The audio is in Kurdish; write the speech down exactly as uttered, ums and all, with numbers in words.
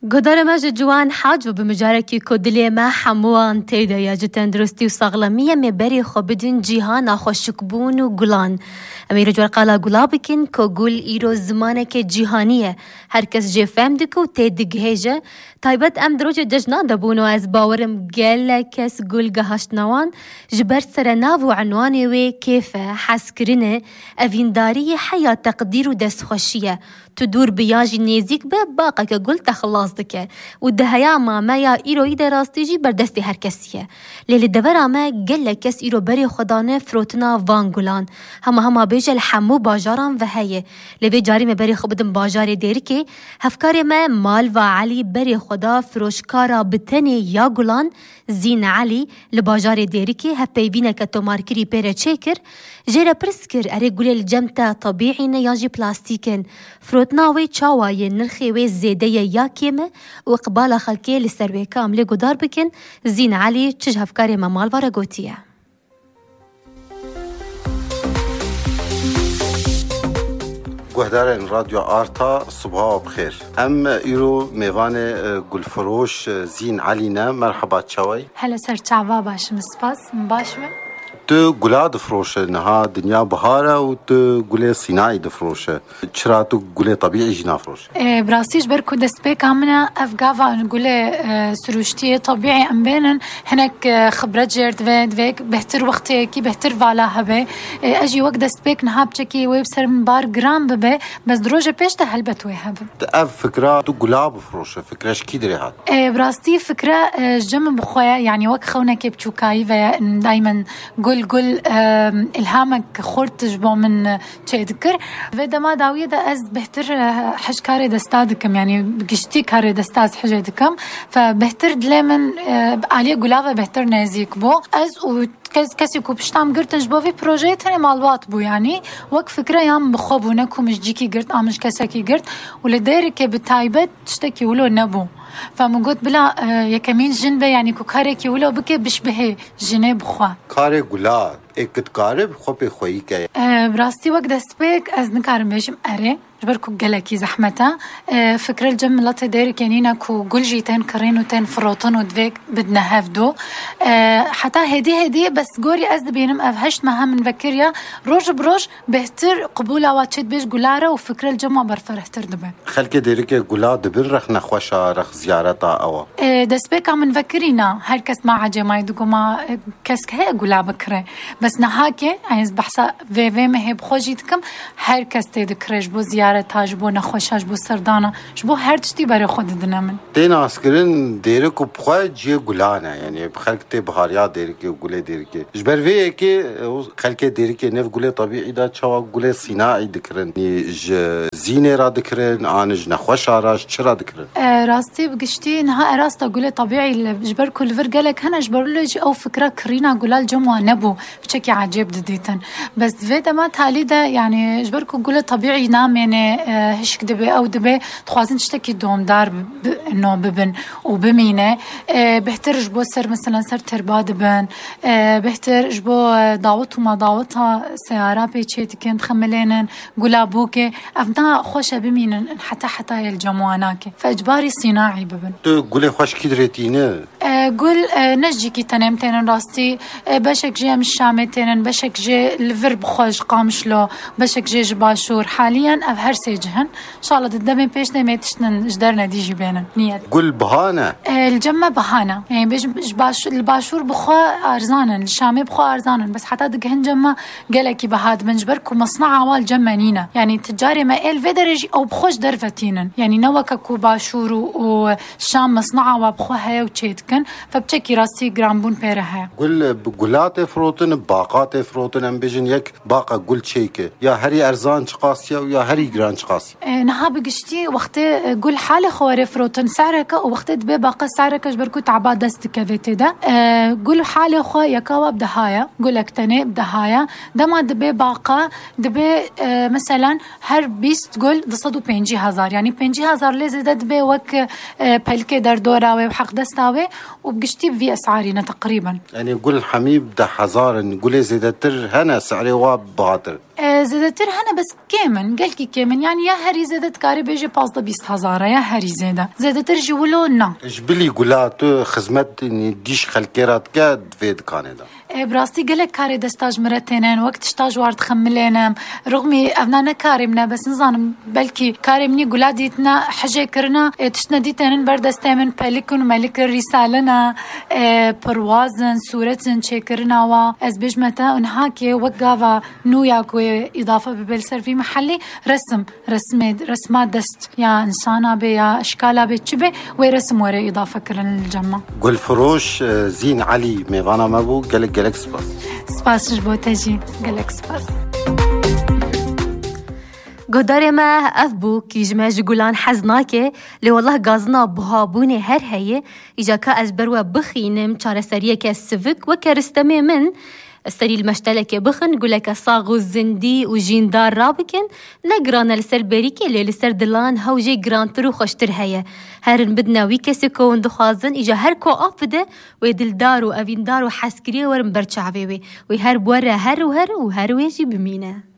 Guhdarê me ji ciwan hac û bi mijarekî ku dilê me hemûan tê de ye, ji tenduristî û saxlemiyê, em ê berê xwe bidin cîhana xweşikbûn û gulan. Em ê îro ji wer qala gula bikin ku gul îro zimaneke cîhanî ye. Her kes jê fehm dike û tê digihêje. Taybet em di rojê cejna de bûn û ez bawerim gelek kes gul gihaştine wan. Ji ber serenav û enwanê wê kêf e, hezkirin e, evîndariyê heya teqdîr û destxweşî ye. Tu dûr bi yan jî nêzîk be, baqeke gul te xilas dike. Û di heya mameya îroyî de rastî jî ber destê her kesî ye. Lê li devera me gelek kes îro berê xwe dane firotina van gulan. Hema hema bêje li hemû bajaran ve heye. Lê vê carî me berê xwe bidin bajarê Dêrikê. Hevkarê me Malva Elî berê xwe da firoşkara bi tenê ya gulan, Zîn Elî, li bajarê Dêrikê hevpeyvîneke tomarkirî pê re çêkir, jê re pirs kir, erê gulê li cem te tebîî ne yan jî plastîk in? Firotina wê çawa ye, nirxê wê zêde ye ya kêm e û iqbala xelkê li ser wê ka em lê guhdar bikin, Zîn Elî çi ji hevkarê me Malva re gotiye. Guhdarên Radyo Arta, sibha we bi xêr. Em îro mêvanê, e, gulfiroş, e, Zîn Elî ne. Merheba, çawayî? Hele ser çava, başim, spas, baş be. Tu gula difiroşe, niha dinya bihar e û tu gulê sînaî difiroşe. Çira tu gulê tebîî jî nafiroşe? E, bi rastî ji ber ku destpêka min e, ev gava gulê, e, sirûştiyê tebîî em bênin, hinek, e, xibret jê re divê, divê bêhtir wexteyekî bêhtir vala hebe. E, ez jî wek destpêk niha piçekî wê bi ser min bar giran bibe, bes di rojê pêş de helbet wê hebe. Ev fikra tu gula bifiroşe, fikre ji kî dirê hat? E, bi rastî fikre, e, ji cem min bi xwe ye, yanî wek xewnekê biçûkayî ve ye, daymen gul gul, e, îlhamek xurt ji bo min, e, çêdikir. Vê dema dawiyê de ez bêhtir, e, hej karê desta dikim, yanî bi giştî karê desta ez hejê dikim. Fe bêhtir dilê min, e, bi aliyê gula ve bêhtir nêzîk bû. Ez û kes-, kesî ku pişta min girtin ji bo vî projeyê tenê malbat bû, yanî wek fikre ya min bi xwe bû, ne ku min ji cîkî girt, a min ji kesekî girt û li Dêrikê bi taybet tiştekî wilo nebû. Fe min got bila, e, yekemîn jin be, yanî ku karekî wilo bike, bişbihê jinê bi xwe. Karê gula ê ku dikare bi xwe pê xweyî ke. E, bi rastî wek destpêk ez nikarim bêjim erê. Ji ber ku gelekî zehmet e. E, fikre li cem miletê Dêrikê nîne ku gul jî tên kirîn û tên firotin û divê bidine hevdu. E, heta hêdî hêdî bes gorî ez dibînim ev heşt meha min vekiriya. Roj bi roj bêhtir qibûla wa çê dibe ji gula re û fikre li cem wa berferehtir dibe. Xelkê Dêrikê gula dibin rex nexweşa, rex ziyareta ew a? E, destpêka min vekirîna, her kes ma ecêmayî digo ma, e, kesk heye gula bikire. Bes niha ke, ez behsa vê, vê mehê bi xwe jî dikim, her kes tê dikire ji bo ziyareta, ji bo nexweşa, ji bo serdana, ji bo her tiştî berê xwe didine min. Tê naskirin Dêrik û bi xwe cihê gulan e, yanî bi xelk tê bihariya Dêrikê û gulê Dêrikê. Ji ber vê yekê, e, xelkê Dêrikê ne bi gulê tebîî de çawa gulê sînaî dikirin? Yanî ji zînê re dikirin, an ji nexweşa re, ji çi re dikirin? E, rastî bi giştî niha erasta gulê tebîî li, ji ber ku li vir gelek hene, ji ber wilo jî ew fikra kirîna gula li cem wan nebû, piçekî ecêb didîtin. Bes di vê dema talî de, yanî ji ber ku gulê tebîî namêne, e, hişk dibe, ew dibe, dixwazin tiştekî domdar bi, bi, no bibin û bimîne. E, bêhtir ji bo ser, mesela ser terba dibin, e, bêhtir ji bo, e, dawet û madaweta seyara pê çê dikin, dixemilênin, gula bûkê. Ev na xweş e bimînin heta hetayê li cem wan nake. Fe ecbarî sînaî bibin. Tu gulê xweş kî dirê tîne? E, gul, e, ne ji cîkî tenê em tênin rastî. E, beşek jê em ji Şamê tênin, beşek jê li vir bi xwe ji Qamişlo, beşek jê ji Başûr. Haliyen ev her sê cih in. Înşallah di demê pêş de em ê tiştin ji dernedî jî bênin. Niyet. Gul biha ne? E, li cem me biha ne. Yanî bêjim, ji baş-, li Başûr bi xwe erzan in, li Şamê bi xwe erzan in. Bes heta digihin cem me gelekî biha dibin. Ji ber ku mesnaa wa li cem me nîne. Yanî ticarê me ê li vê derê jî ew bi xwe ji derve tînin. Yanî ne weke ku Başûr û, û Şam mesnaa wa bi xwe heye û çê dikin. Fe piçekî rastî giranbûn pê re heye. Gul bi gula tê firotin, baqa tê firotin, em bêjin yek baqa gul çêke. Ya herî erzan çiqas ye û ya herî giran çiqas ye? E, niha bi giştî wextê, e, gul halê xwe were firotin se'reke û wextê dibe baqa se'reke ji ber ku taba dest dikeve tê de. E, gul halê xwe yeka wa bi deha ye, gulek tenê bi deha ye. Dema dibe baqa, dibe, e, meselen her bîst gul du sed û pêncî hezar. Yanî pêncî hezar lê zêde dibe wek, e, e, pelikê derdora wê û heqdesta wê û bi giştî bi vî esarî ne teqrîben. Yanî gul hemî bi deh hezar in, gulê zêdetir hene, si'rê wa bihatir. E, zêdetir hene bes kêm in, gelkî kêm in. Yanî ya herî zêde dikarî bêjî pazdeh bîst hezar e, ya herî zêde. Zêdetir ji wilo na. Ji bilî gula tu xizmet dîş xelkê re dike di vê dikanê de. E, bi rastî gelek karê desta ji min re tênin, wek tişta ji war dixemilênim. Rixmî evna ne karê min e, bes nizanim belkî karê min î gula dîtina, hejê kirina, e, tiştine dîtênin ber destê min, pelik in û melik in, rîsalina, e, pirwaz in, sûret in, çêkirina wa. Ez bêjme te, niha kê wek gava nû ya ku îdafe bibe li ser vî mehellî, resim, resmê, resma dest ya însana bê ya eşkala bê çi bê, wê resim were îdafe kirin li cem me. Gulfiroş, e, Zîn Elî mêvana me bû. Gelek gelek spas. Spas ji bo te jî. Gelek spas. Guhdarê me ev bû kî ji me ji gulan hez nake, lê wellah gazina buhabûnê her heye. Îca ka ez ber we bixînim çareseriyeke sivik weke ristemê min. Serî li meştelekê bixin, guleke sax û zindî û jîndar rabikin. Ne giran e li ser bêrîkê, lê li ser dilan hew jê girantir û xweştir heye. Herin bidine wî kesê ku hûn dixwazin, îca her ku av bide, wê dildar û evîndar û hezkiriyê werin ber çavê wê. Wê her bi we re her û her û her wê jî bimîne.